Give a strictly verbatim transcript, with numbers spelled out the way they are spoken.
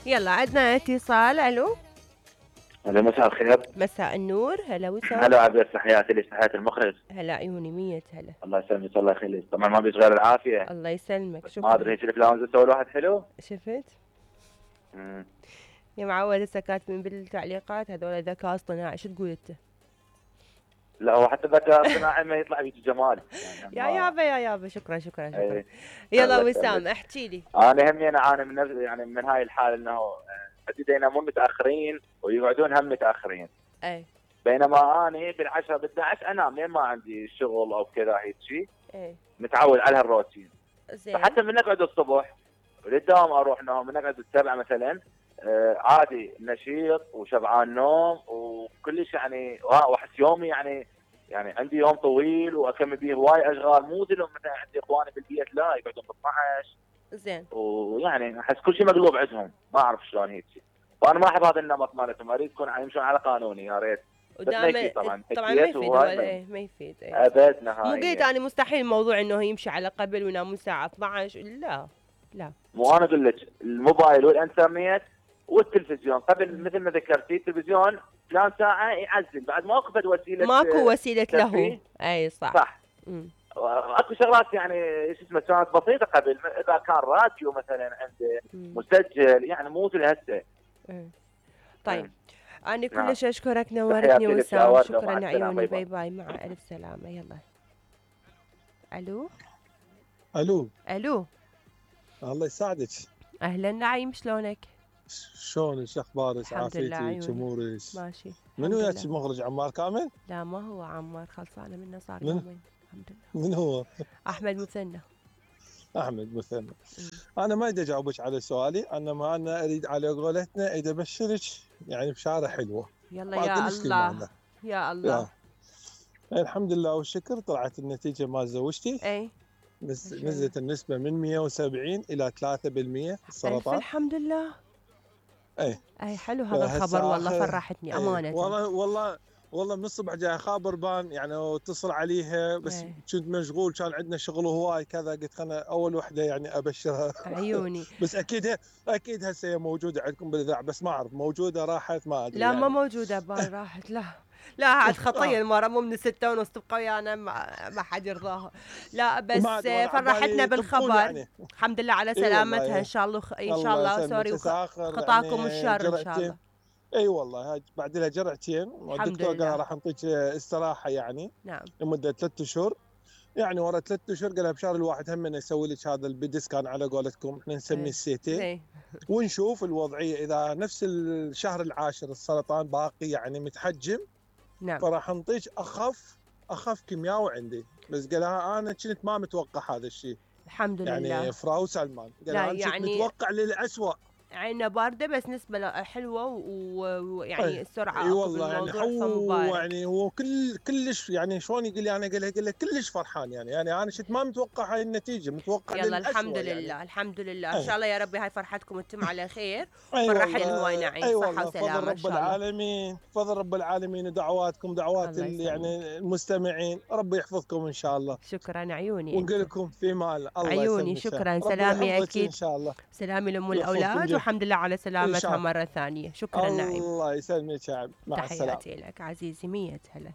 يلا عندنا اتصال. الو هلا مساء الخير. مساء النور. هلا وسهلا. هلا عبير، تحياتي لك، تحياتي المخرج. هلا عيوني مية هلا. الله يسلمك الله يخليك. طبعا ما بيش غير العافيه. الله يسلمك. شكرا. ما ادري هيك الافلام تسوي الواحد حلو. شفت؟ امم يا معود هسه كاتبين بالتعليقات هذول ذكاء اصطناعي، شو تقول انت؟ لا هو حتى الذكاء الاصطناعي ما يطلع بيك جمال يعني. يا يابا يا يابا شكرا شكرا شكرا. ايه. يلا وسام احكي لي. انا همي انا اعاني من نفس يعني من هاي الحاله انه عندي ينامون متاخرين ويقعدون هم متاخرين. اي. بينما اني بالعشرة بالأحد عشر انام لين ما عندي شغل او كذا هيك شيء. اي. متعود على هالروتين. زين. فحتى من نقعد الصبح وللدوام اروح نوم، من نقعد السبعة مثلا آه عادي نشيط وشبعان نوم وكلش يعني واحس يومي يعني يعني عندي يوم طويل واكمل به هواي اشغال، مو زي مثلا عندي اخواني بالبيت لا يقعدون ب اثنعش. زين. ويعني احس كل شيء مقلوب عندهم، ما اعرف شلون هيك. وانا ما احب هذا النمط مالتهم، اريد يكون يمشون على قانوني يا ريت. ودائما طبعا طبعا ما يفيد ولا ايه ما يفيد ايه. ابد نهائيا. مو قلت انا مستحيل الموضوع انه يمشي على قبل وينامون الساعه اثنعش، لا لا. مو انا اقول لك الموبايل والانترنت والتلفزيون قبل مثل ما ذكرتي التلفزيون فلان ساعه يعزل بعد ما اخذت وسيله ماكو وسيله له. اي صح صح. امم اكو شغلات يعني شو اسمه كانت بسيطه قبل، اذا كان راديو مثلا عنده مسجل يعني مو مثل هسه. طيب أنا كلش أشكرك نورتني وسام. شكرا عيوني. باي باي مع ألف سلامة. يلا. ألو ألو ألو الله يساعدك. أهلا نعيم شلونك؟ شلونك شو أخبارك؟ عافيتك أمورك؟ ماشي. من وياك المخرج عمار كامل؟ لا ما هو عمار، خلصانة منه صار يومين. الحمد لله. من هو؟ أحمد مثنى. احمد مثنى. انا ما اريد اجاوبك على سؤالي، انما انا اريد على قولتنا اريد ابشرك يعني بشاره حلوه. يلا يا الله يا الله. يا. الحمد لله والشكر طلعت النتيجه مال زوجتي. اي. بس نزلت النسبه من مية وسبعين الى ثلاثة بالمية السرطان. الحمد لله. اي اي حلو هذا الخبر والله فرحتني امانه. والله والله والله من الصبح جاي خابر بان يعني واتصل عليها بس أي. كنت مشغول كان عندنا شغل هواي كذا، قلت خلنا اول وحده يعني ابشرها. عيوني. بس اكيد اكيد هسه موجوده عندكم بالاذاعه بس ما اعرف موجوده راحت ما ادري. لا يعني. ما موجوده بان راحت. لا لا عاد خطيه المره مو من الستة ونص تبقى ويانا ما حد يرضاها. لا بس فرحتنا بالخبر يعني. الحمد لله على سلامتها. ان شاء الله ان شاء الله سوري خطاكم الشر ان شاء الله. اي والله هاي بعد لها جرعتين والدكتور قال راح نعطيك استراحه يعني. نعم. لمده ثلاث اشهر يعني ورا ثلاث اشهر قال بشهر الواحد هم نسوي لك هذا البيدي سكان على قولتكم احنا نسميه السيتي ونشوف الوضعيه اذا نفس الشهر العاشر السرطان باقي يعني متحجم. نعم. فراح نعطيك اخف اخف كيميائي عندي بس قال انا كنت ما متوقع هذا الشيء. الحمد لله. يعني فراو سلمان قال انا يعني كنت متوقع للأسوأ. عينه بارده بس نسبه حلوه ويعني السرعه اي والله يعني هو يعني هو كل كلش يعني شلون يقول لي انا قال له كلش فرحان يعني يعني انا شفت ما متوقع هاي النتيجه متوقع يلا الحمد لله يعني. الحمد لله ان شاء الله يا ربي هاي فرحتكم انتم على خير. فرحنا هواي نعيم. أي صحه وسلامه فضل رب العالمين فضل رب العالمين ودعواتكم دعوات يعني المستمعين ربي يحفظكم ان شاء الله. شكرا عيوني. ونقول لكم في مال الله عيوني شكرا سلامي اكيد ان شاء الله. سلامي لام الاولاد والحمد لله على سلامتها مرة ثانية. شكرا نعيم. الله يسلمك يا عم. مع السلامة. تحياتي لك عزيزي. مية هلا.